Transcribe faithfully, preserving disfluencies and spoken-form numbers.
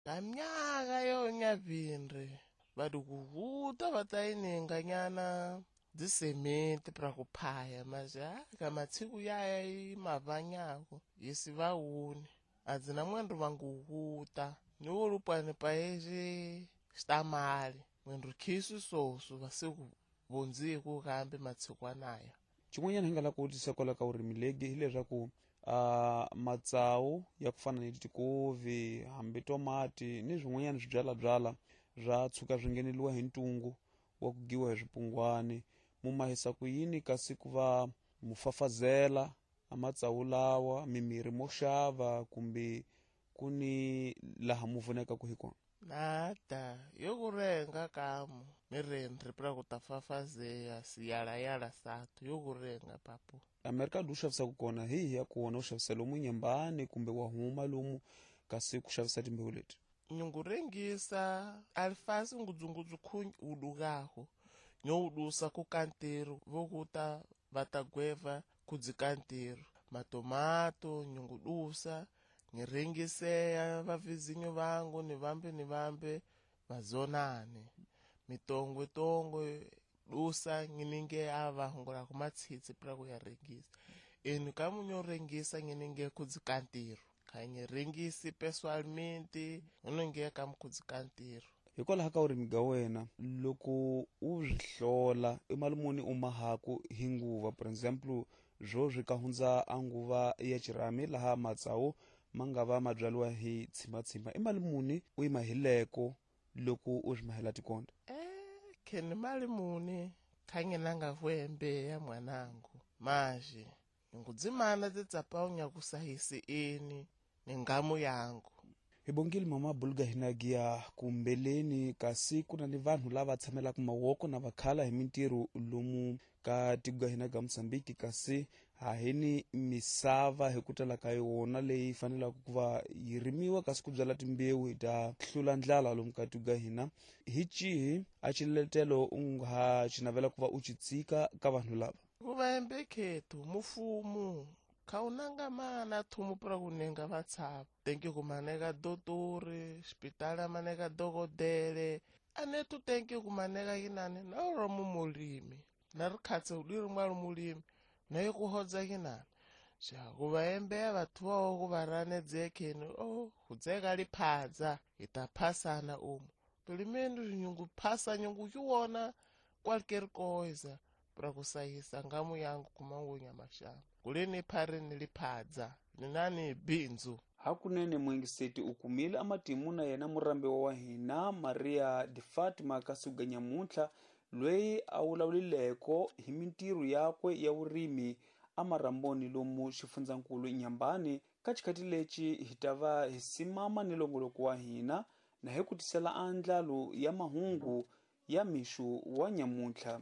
Kamnyaka yo nyavindri vadukuvuta va ta yininganyana dzisementi pra ku phaya maja ka matsiku yaya yi mavanyako yisi vauni adzina mwendu vanguvuta niwolupwani paeje xitamali mwendu khisu sosu vasiku vondziku kambe matsikwanaya. Xin'wanyana hi nga lava ku vutisa kwala ka vurimi legi hileswaku uh, matsawu ya ku fana ni tikovi hambi tomati ni swin'wanyana swibyalabyala swa tshuka swi ngheneliwa hi ntungu wa ku giwa hi swipungwani, mu mahisa ku yini kasi ku va mu fafazela a matsawu lawa mimirhi mo xava kumbe ku ni laha mu pfunekaku hi kona? Nada yo ku renga kamu mirendri pra ku ta fafazeya siyalayala satu yo ku renga papu. Amerika u xavisaka kona hi hi ya kona u xavisa lomu Nyambani kumbe wa huma lomu kasi ku xavisa timbewu leti? Nyungurengisa alifasi ngudzungudzu khunyi udukaho nyoudusa ku kantiru vokuta vatagweva kudzikantiru matomato nyungudusa ngirengiseya vavizinyo vangu ni vambe ni vambe vazonane mitongwe tongwe dusa ngininge ava hungula kumatsitsi pra ku ya rengisa enu kamunyo rengisa ngininge kudzikantiru kanyerengisi pessoalmente unonge kamukudzikantiru. Hikwalaho ka vurimi ga wena loko u swi hlola i mali muni u mahaku hi nguva, for example swo swi ka hundza a nguva ya xirhami laha matsawu ma nga va ma byariwa hi tshimatshima, i mali muni u yi mahileko loko u swi mahela tikonda? Eh, kheni mali muni khangenanga vwembe ya mwanangu maji ngudzimana titsapaunya kusahisi ini ni ngamu yangu. Hi bongile mama Bulga hinagia kumbeleni kasi ku na ni vanhu lava tshamelaka mawoko na vakhala hi mintirho lomu ka tiko hina ga Mozambique, kasi hahini misava hi ku tala ka yona leyi fanelaka ku va yi rimiwa kasi ku byala timbewu hi ta hlula ndlala lomu ka tiko hina. Hi cihi a xiletelo u nga xi navela ku va u xi tsika ka vanhu lava? Ku va embekhethu mufumu khaunanga mana thumu pra kunenga vatshava tenki kumaneka dotori xipitala maneka dokodele anetu tenki kumaneka yinani na ro mulimi na ri khatse ri mwalo mulimi na yi ku hodza yinani xa ku va embeya vathu vawo ku va ranedzekheni o hudzeka liphadza hi ta phasana umu pelimendu nyungu phasa nyungu yiwona qualquer coisa pra kusahisa ngamu yangu kumangunya mashamba kuleni pharini liphadza ninani bindzu. Hakunene mwingiseti u kumile amatimu na yena murambiwa wa hina Maria de Fatima Kasuga nyamuntlha loyi a vulavulileko hi mintirho yakwe ya vurimi amaramboni lomu xifundzankulu Nyambani. Ka xikhathi lexi hi ta va hi simama ni longoloko wa hina na hi ku tisela andlalo ya mahungu ya mixo wa nyamuntlha.